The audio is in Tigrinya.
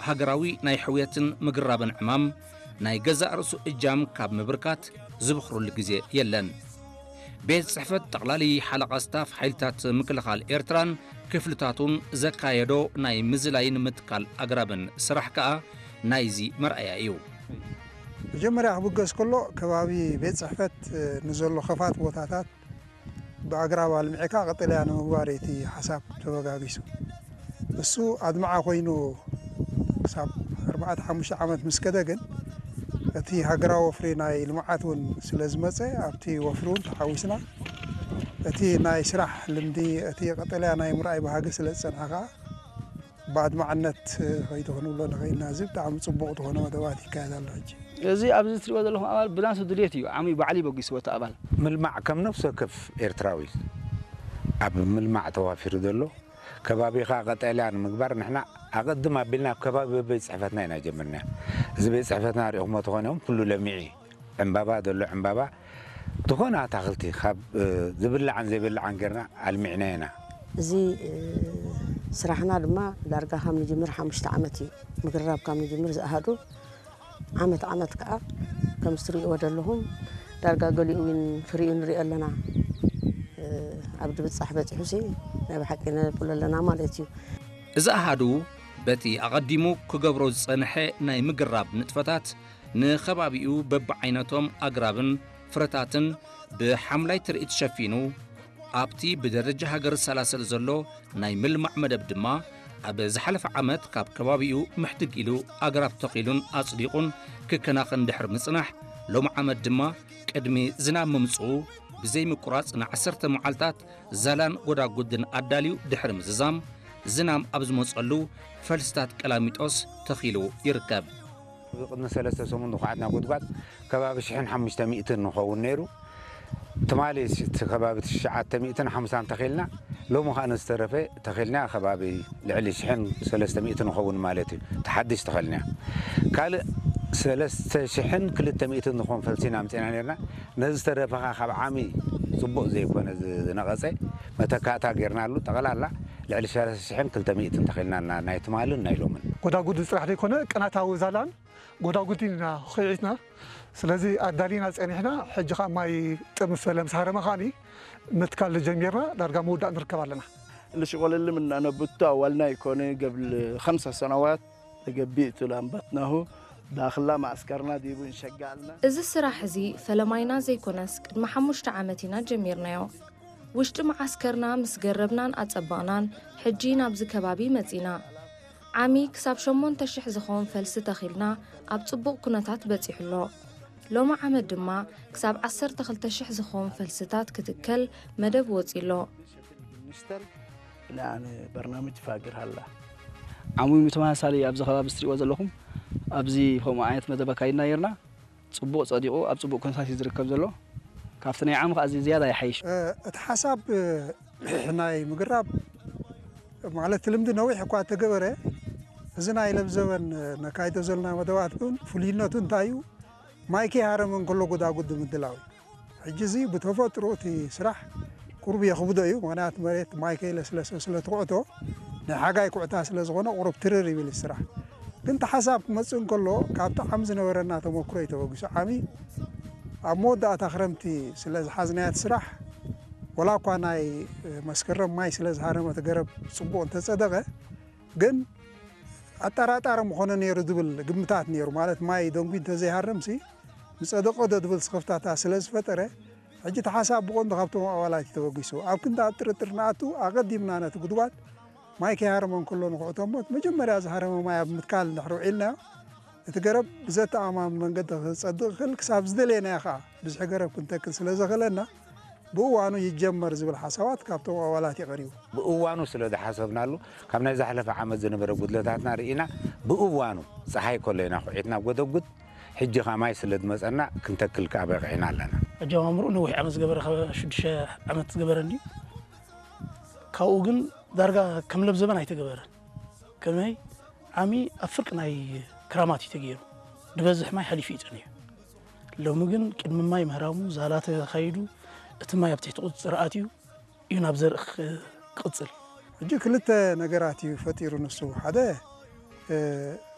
ሃገራዊ ናይ ሕውየትን ምግራብን ዕማም ናይ ገዛእ ርእሱ እጃም ካብ ምብርካት ዝብኽሩሉ ግዜ የለን። ቤት ጽሕፈት ጠቕላሊ ሓለቓ ስታፍ ሓይልታት ምክልኻል ኤርትራን ክፍልታቱን ዘካየዶ ናይ ምዝላይን ምትካል ኣግራብን ስራሕ ከኣ ናይዚ መርኣያ እዩ። መጀመርያ ክብገስ ከሎ ከባቢ ቤት ጽሕፈት ንዘሎ ከፋት ቦታታት ብኣግራብ ኣልሚዕካ ቀጠልያ ንምግባር እቲ ሓሳብ ተበጋጊሱ። እሱ ኣድማዓ ኮይኑ ክሳብ ኣርባዕተ ሓሙሽተ ዓመት ምስ ከደ ግን እቲ ሃገራዊ ወፍሪ ናይ ልምዓት እውን ስለ ዝመጸ ኣብቲ ወፍሪ እውን ተሓዊስና እቲ ናይ ስራሕ ልምዲ እቲ ቀጠልያ ናይ ምርኣይ ባህጊ ስለ ዝጸንሐ ከኣ ብኣድማዕነት ከይዱ ክንብሎ ንኽእል ኢና። እዚ ብጣዕሚ ጽቡቕ ዝኾነ መደባት ይካየድ ኣሎ ሕጂ። እዚ ኣብዚ እትሪእዎ ዘለኹም ኣባል ብናሱ ድልየት እዩ ዓሚኡ ባዕሉ ይበጊስዎ እቲ ኣባል። ምልማዕ ከም ነፍሲ ወከፍ ኤርትራዊ ኣብ ምልማዕ ተዋፊሩ ዘሎ ከባቢኻ ቀጠልያ ንምግባር ንሕና ኣቐድም ኣቢልና ኣብ ከባቢ ቤት ጽሕፈትና ኢና ጀምርና። እዚ ቤት ጽሕፈትና ሪእኹሞ ተኾነ እውን ኩሉ ለሚዑ እዩ። ዕምባባ ዘሎ ዕምባባ ዝኾነ ኣታኽልቲ ካብ ዝብላዕን ዘይብላዕን ጌርና ኣልሚዕና ኢና። እዚ ስራሕና ድማ ዳርጋ ካብ ንጅምር ሓሙሽተ ዓመት እዩ። ምግራብ ካብ ንጅምር ዝኣሃዱ ዓመት ዓመት ከዓ ከም እትሪእዎ ዘለኹም ዳርጋ ገሊኡ እውን ፍሪኡ ንሪኦ ኣለና። ኣብ ድብፃሕ በፂሑሲ ናይ ብሓቂ ነብሎ ኣለና ማለት እዩ። እዚ ኣሃዱ በቲ ኣቐዲሙ ክገብሮ ዝጸንሐ ናይ ምግራብ ንጥፈታት ንኸባቢኡ በብዓይነቶም ኣግራብን ፍረታትን ብሓምላይ ትርኢት ሸፊኑ ኣብቲ ብደረጃ ሃገር ዝሰላሰል ዘሎ ናይ ምልማዕ መደብ ድማ ኣብ ዝሓለፈ ዓመት ካብ ከባቢኡ ምሕድግ ኢሉ ኣግራብ ተኺሉን ኣጽዲቑን ክከናኸን ድሕሪ ምጽናሕ ሎም ዓመት ድማ ቅድሚ ዝናብ ምምጽኡ ብዘይምቁራጽ ንዓሰርተ መዓልታት ዛላን ጎዳጉድን ኣዳልዩ ድሕሪ ምዝዛም ዝናም ኣብ ዝመጸሉ ፈልስታት ቀላሚጦስ ተኺሉ ይርከብ። ቅድሚ ሰለስተ ሰሙን ዝኹዓትና ጉድጓድ ከባቢ ሽሕን ሓሙሽተ ሚእትን ንኸውን ነይሩ። ትማሊ እቲ ከባቢ ትሽዓተ ሚእትን ሓምሳን ተኺልና፣ ሎሚ ኸኣ ንዝተረፈ ተኺልና ከባቢ ልዕሊ ሽሕን ሰለስተ ሚእትን ንኸውን ማለት እዩ። እቲ ሓድሽ ተኸልናዮ ካልእ ሰለስተ ሽሕን ክልተ ሚእትን ዝኾን ፈልሲና ኣምጺእና ነርና። ነዚ ዝተረፈ ኸኣ ካብ ዓሚ ጽቡቕ ዘይኮነ ዝነቐጸ መተካእታ ጌርናሉ። ጠቕላላ ልዕሊ ሰለስተ ሽሕን ክልተ ሚእትን ተኺልና ናይ ትማልን ናይ ሎምን። ጎዳጉዲ ጥራሕ ዘይኮነ ቅናታዊ ዛላን ጎዳጉዲ ኢና ኹዒትና። ስለዚ ኣዳሊና ጸኒሕና። ሕጂ ኸኣ ማይ ጥም ፈለ ምስ ሃረመ ኸኣኒ ምትካል ጀሚርና ዳርጋ ምውዳእ ንርከብ ኣለና። ልሽቆለልም እና ነብቱ ኣዋልና ይኮነ ገብል ኸምሰ ሰነዋት ተገቢእቱ ላምባትናሁ ዳኽላ ማእስከርና ዲቡ እንሸጋልና። እዚ ስራሕ እዚ ፈለማይና ዘይኮነስ ቅድሚ ሓሙሽተ ዓመት ኢና ጀሚርናዮ። ውሽጢ መዓስከርና ምስ ገረብናን ኣጸበቕናን ሕጂ ናብዚ ከባቢ መጺና። ዓሚ ክሳብ ሸሞንተ ሽሕ ዝኸውን ፈልሲ ተኺልና ኣብ ጽቡቕ ኩነታት በጺሑ ኣሎ። ሎሚ ዓመት ድማ ክሳብ ዓሰርተ ክልተ ሽሕ ዝኸውን ፈልስታት ክትከል መደብ ወጺ ኣሎ። ሚኒስተር ኢላ ኣነ በርናምጅ ፋግር ሃላ። ዓሙሚ ተመሳሳሊ ኣብዚ ከባቢ እትሪእዎ ዘለኹም ኣብዚ ከምኡ ዓይነት መደብ ኣካይድና ነይርና። ጽቡቕ ጸዲቑ ኣብ ጽቡቕ ኩነታት እዩ ዝርከብ ዘሎ። ካብቲ ናይ ዓሚ ከኣ እዚ ዝያዳ ይሓይሽ። እ፣ እቲ ሓሳብ፣ እ፣ ናይ ምግራብ ማለት ልምዲ ነዊሕ እኳ ተገበረ፣ እዚ ናይ ለብዘበን፣ እ፣ ነካይዶ ዘለና መደባት ግን ፍሉይነቱ እንታይ እዩ? ማይ ከይሃረመ እንከሎ ጎዳጉዲ ምድላው እዩ። ሕጂ እዚ ብተፈጥሮ እቲ ስራሕ ቁሩብ የኽብዶ እዩ። ምኽንያቱ መሬት ማይ ከይለስለሰ ስለ ትኹዕቶ፣ ናይ ሓጋይ ኩዕታ ስለ ዝኾነ ቁሩብ ትርር ይብል እዩ ስራሕ። ግን እቲ ሓሳብ ክመጽእ እንከሎ፣ ካብቲ ዓሚ ዝነበረና ተመክሮ እዩ ተበጊሱ። ዓሚ ኣብ መወዳእታ ክረምቲ ስለ ዝሓዝናዮ እቲ ስራሕ፣ ወላ እኳ ናይ መስከረም ማይ ስለ ዝሃረመ እቲ ገረብ ጽቡቕ እንተጸደቐ፣ ግን ኣጠራጣሪ ምኾነ ነይሩ ዝብል ግምታት ነይሩ። ማለት ማይ ደንጉዩ እንተዘይሃርምሲ ምጸደቐ ዶ ዝብል ስኽፍታታት ስለ ዝፈጠረ፣ ሕጂ እቲ ሓሳብ ብቐንዱ ካብቶም ኣባላት እዩ ተበጊሱ። ኣብ ክንዲ ኣብ ጥርጥር ንኣቱ ኣቐዲምና ነቲ ጉድጓድ ማይ ከይሃረመ እንከሎ ንኹዕቶ እሞ፣ እቲ መጀመርያ ዝሃረመ ማይ ኣብ ምትካል እንድሕር ውዒልናዮ፣ እቲ ገረብ ብዘተኣማምን መንገዲ ክጸድቕ ይኽእል፣ ክሳብ ዝደለየናዮ ኸኣ ብዝሒ ገረብ ክንተክል ስለ ዘኽእለና፣ ብእዋኑ ይጀመር ዝብል ሓሳባት ካብቶም ኣባላት እዩ ቀሪቡ። ብእዋኑ ስለ ዝሓሰብናሉ፣ ካብ ናይ ዝሓለፈ ዓመት ዝነበረ ጉድለታትና ርኢና፣ ብእዋኑ ጸሓይ ከሎ ኢና ኩዒትና ጎደጉድ፣ ሕጂ ኸኣ ማይ ስለ ዝመጸና ክንተክል ከኣ በቒዕና ኣለና። ኣጀማምርኡ ነዊሕ ዓመት ዝገበረ፣ ካብ ሽዱሽተ ዓመት ዝገበረ እንድዩ። ካብኡ ግን ዳርጋ ከም ለብዘበን ኣይተገበረን። ከመይ? ዓሚ ኣብ ፍርቂ ናይ ክራማት እዩ ተገይሩ። ዝበዝሕ ማይ ሓሊፉ እዩ ጸኒሑ። ሎሚ ግን ቅድሚ ማይ ምህራሙ ዛላ ተኻይዱ፣ እቲ ማይ ኣብ ትሕቲ ቁጽጽር ኣትዩ እዩ ናብ ዘርኢ ክቕጽል። ሕጂ ክልተ ነገራት እዩ ፈጢሩ ንሱ። ሓደ፣ እ፣